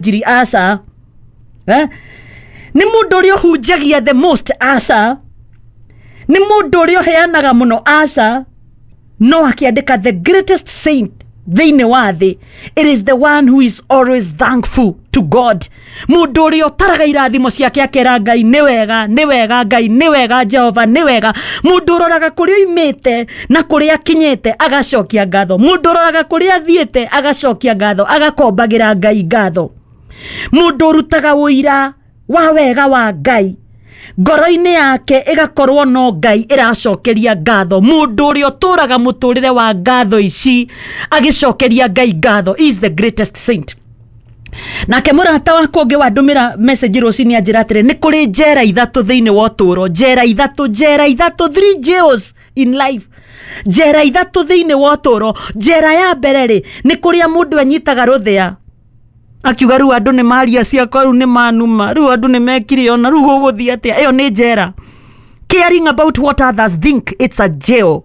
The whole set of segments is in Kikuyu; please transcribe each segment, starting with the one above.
Njiri? Aca. Eh? Nĩ mũndũ ũrĩa ũhunjagia the most? Aca. Nĩ mũndũ ũrĩa ũheanaga mũno? Aca. No akĩandĩka, the greatest saint thĩinĩ wa thĩ, it is the one who is always thankful to God. Mũndũ ũrĩa ũtaraga irathimo ciake, akera Ngai, "Nĩ wega, nĩ wega Ngai, nĩ wega Jehova, nĩ wega." Mũndũ ũroraga kũrĩa oimĩte na kũrĩa akinyĩte, agacokia ngatho. Mũndũ ũroraga kũrĩa athiĩte, agacokia ngatho, agakombagĩra Ngai ngatho. Mũndũ ũrutaga ũira wa wega wa Ngai, ngoro-inĩ yake ĩgakorwo no Ngai ĩracokeria ngatho. Mũndũ ũrĩa ũtũraga mũtũrĩre wa ngatho ici, agĩcokeria Ngai ngatho, is the greatest saint. Nake mũrata wakwa ũngĩ wandũmĩra message rũcinĩ anjĩra atĩrĩ, nĩ kũrĩ njera ithatũ thĩinĩ wa ũtũũro. Njera ithatũ, njera ithatũ, three jails in life. Njera ithatũ thĩinĩ wa ũtũũro. Njera ya mbere rĩ, nĩ kũrĩa mũndũ anyitaga rũthĩa, akiuga, "Rĩu andũ nĩ maria ciakwa, rĩu nĩ manuma, rĩu andũ nĩ mekire ona, rĩu gũgũthiĩ atĩa?" Ĩyo nĩ njera. Caring about what others think, it's a jail.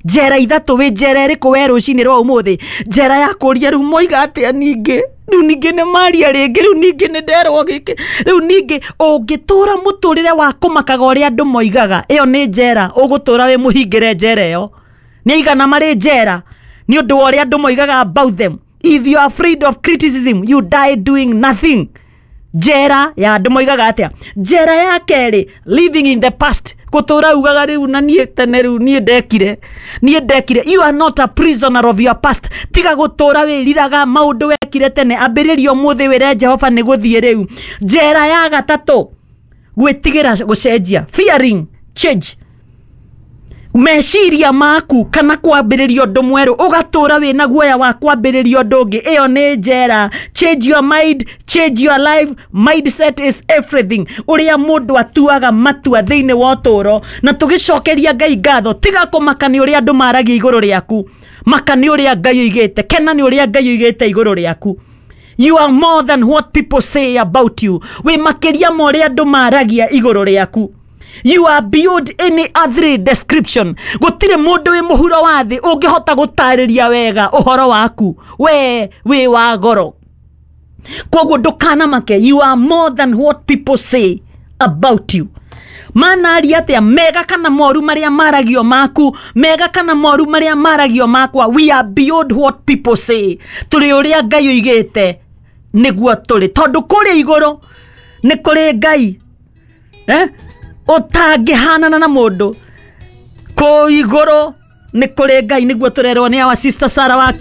Njera ithatũ. Wĩ njera ĩrĩkũ we rũcinĩ rwa ũmũthĩ? Njera ya kũria, "Rĩu moiga atĩa ningĩ? Rĩu ningĩ nĩ maria rĩngĩ, rĩu ningĩ nĩ nderwo gĩkĩ, rĩu ningĩ." Ũngĩtũra mũtũrĩre wa kũmakaga ũrĩa andũ moigaga, ĩyo nĩ njera. Ũgũtũra wĩ mũhingĩre njera ĩyo. Nĩ aigana marĩ njera nĩ ũndũ wa ũrĩa andũ moigaga about them? If you are afraid of criticism, you die doing nothing. Njera ya andũ moigaga atĩa. Njera ya kerĩ, living in the past. Gũtũra ugaga, "Rĩu na niĩ tene, rĩu niĩ ndekire, niĩ ndekire." You are not a prisoner of your past. Tiga gũtũra wĩriraga maũndũ wekire tene. Ambĩrĩria ũmũthĩ, wĩre Jehova nĩ gũthiĩ rĩu. Njera ya gatatũ, gwĩtigĩra gũcenjia, fearing change. Meciria maku kana kwambĩrĩria ũndũ mwerũ, ũgatũra wĩna guoya wa kwambĩrĩria ũndũ ũngĩ, ĩyo nĩ njera. Change your mind, change your life. Mindset is everything. Ũrĩa mũndũ atuaga matua thĩinĩ wa ũtũũro. Na tũgĩcokeria Ngai ngatho, tiga kũmaka nĩ ũrĩa andũ maragia igũrũ rĩaku. Maka nĩ ũrĩa Ngai oigĩte, kena nĩ ũrĩa Ngai oigĩte igũrũ rĩaku. You are more than what people say about you. Wĩ makĩria ma ũrĩa andũ maragia igũrũ rĩaku. You are beyond any other description. Gũtirĩ mũndũ wĩ mũhuro wa thĩ ũngĩhota gũtarĩria wega ũhoro waku. We wĩ wa goro, koguo ndũkanamake. You are more than what people say about you. Manaria atĩa, mega kana moru marĩa maragio maku, mega kana moru marĩa maragio makwa, we are beyond what people say. Tũrĩ ũrĩa Ngai oigĩte nĩguo tũrĩ, tondũ kũrĩa igũrũ nĩ kũrĩ Ngai, eh? Ũtangĩhanana na mũndũ. Kũu igũrũ nĩ kũrĩ Ngai, nĩguo tũrerwo nĩ our sister Sara wa.